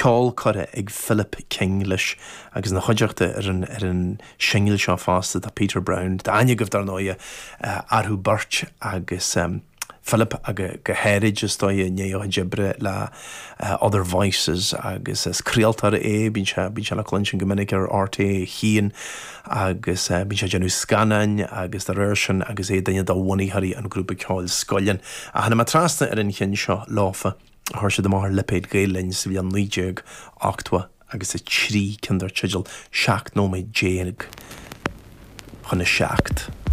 Ceol curtha ag Philip King leis agus ina chuideachta ar an ar an singil seo fosta tá Peter Brown, tá aithne agaibh dar ndóighe orthu beirt agus Philip go háirid is dóigh i ndiaidh a chuid oibre le Other Voices agus is craoltóir é, bíonn sé bíonn sé le cluinstin go minic ar RTÉ 1 agus bíonn sé ag déanamh scannáin agus dá réir sin agus é duine de bhunaitheoirí an ghrúpa ceoil Scoileann. Ach tháinig mé trasna ar an cheann seo leofa a chuir siad amach ar lipéad Gael Linn sa bhliain 1980 agus 3, ceann dar teideal 17 nóiméad chun a 7.